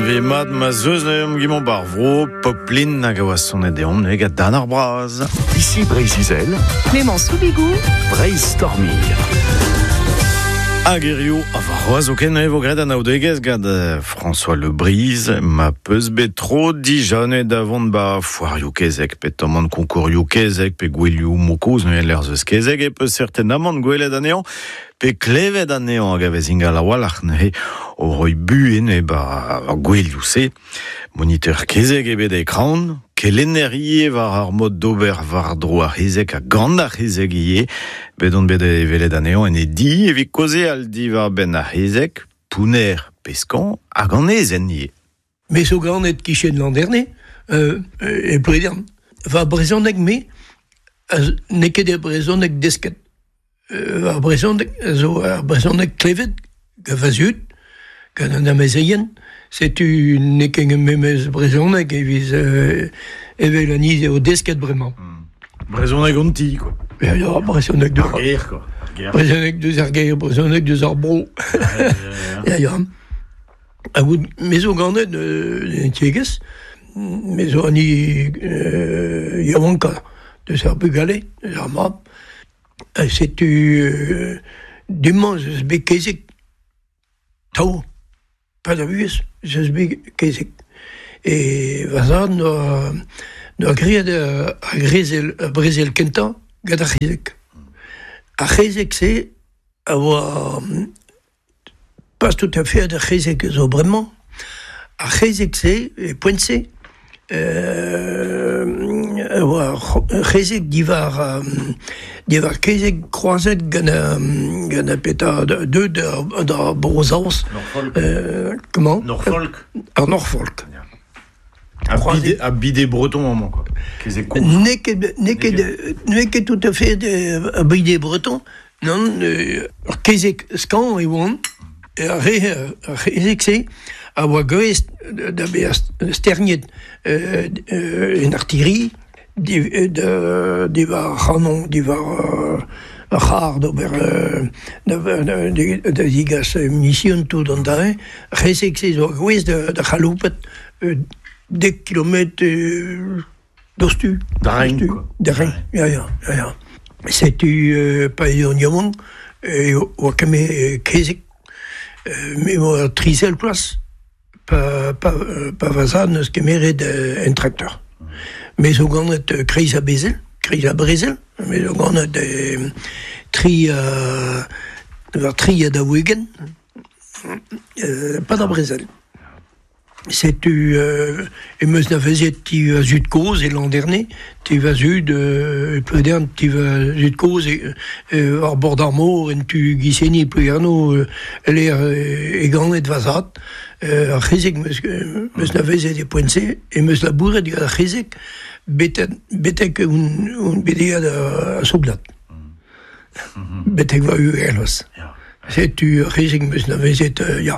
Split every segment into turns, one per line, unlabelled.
ve mat ma zeus neuze gimon bar vro, Poplin hag a oa sonet deomp neuze gant Dan ar Braz.
Ici Breizh-Izel,
Clément Soubigou,
Breizh Storming.
Hag hirio, a warc'hoazh zoken e vo graet anaoudegezh gant François Le Bris, ma peus bet tro dija da vont ba foarioù kezeg, pe tamant konkourioù kezeg, pe gouelioù mokoz neuze lec'h zeus kezeg, e peus certainement gwelet anezhañ, pe klevet anezhañ hag a vez ingal a-walc'h neuze o roiñ buhez neuze ba ar gouelioù-se. Moniteur kezeg eo bet e Kraon, kelenner ivez war ar mod d'ober war-dro ar c'hezeg ha gant ar c'hezeg ivez. Bet on bet e welet anezhañ en e di evit kaozeal diwar-benn ar c'hezeg, pounner pe skañv hag an aezhenn ivez.
Me zo ganet kichen Landerne, e Plouedern. Va brezhoneg me, n'eo ket e brezhoneg desket. Ar brezhoneg zo ar brezhoneg klevet gant va zud, gant an amezeien. Setu n'eo ket memes brezhoneg evit evel an hini eo desket bremañ.
Brezhoneg an ti, quoi.
Ya, ya, brezhoneg deus
ar gêr, quoi.
Brezhoneg deus ar gêr, brezhoneg deus ar bro. Ya, ya. Ha gout, me zo ganet en tiegezh, me zo an hini yaouankañ deus ar bugale, deus ar mab. Ha setu du-mañ ez eus bet kezeg tav, pad ar vuhez ez eus bet kezeg. E va zad 'noa 'noa graet ar brezel ar brezel kentañ gant ar c'hezeg. Ar c'hezeg-se a oa pas tout à fait ar c'hezeg zo bremañ. Ar c'hezeg-se, e poent-se, a oa ur c'hezeg diwar diwar kezeg kroazet gant gant ar petra deuet da Bro-Saoz.
Norfolk.
Comment?
Norfolk.
Ar Norfolk.
Ha bide breton amañ, quoi. Kezeg kozh.
N'eo ket n'eo ket n'eo ket tout à fait bide breton. Nann, ur kezeg skañv e oant. Ar re ar c'hezeg-se a oa gouest da vezañ sterniet en artillerie diwar ar c'hanon, diwar ar c'harr d'ober da zigas munision tout an dra. Ar c'hezeg-se zo gouest da c'haloupat dek kilometr Doc'htu.
Da reiñ, quoi.
Da reiñ, ya, ya, ya, ya. Setu pa eo an yaouank e oa ket kezeg. Me oa trizel plas pa, pa, pa va zad n'eus kemeret un trakteur. Me zo ganet kreiz a bezel, kreiz a brezel, me zo ganet tri war tri ha daou-ugent, pa da brezel. Setu em eus anavezet ti va zud-kozh e Landerne, ti va zud e Pleudern, ti va zud-kozh war bord ar mor en tu Guissény Plouguerneau e-lec'h e ganet va zad. Ar c'hezeg 'm eus anavezet e poent-se, em eus labouret gant ar c'hezeg betek on bet aet da soudard. Betek va uheloc'h. Setu ar c'hezeg 'm eus anavezet, ya.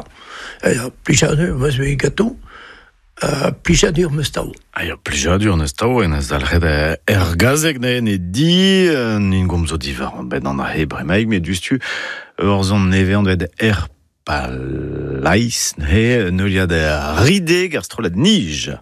Ya, plijadur 'm eus bet ganto, ha plijadur 'm eus tav.
Ah ya, plijadur 'neus tav, en eus dalc'het er gazeg neuze e di, nin gomzo diwar benn an ahe bremaik, met diouzhtu ur son nevez anvet Er Palais, neuze neuliad Rideg, ar strollad Nij.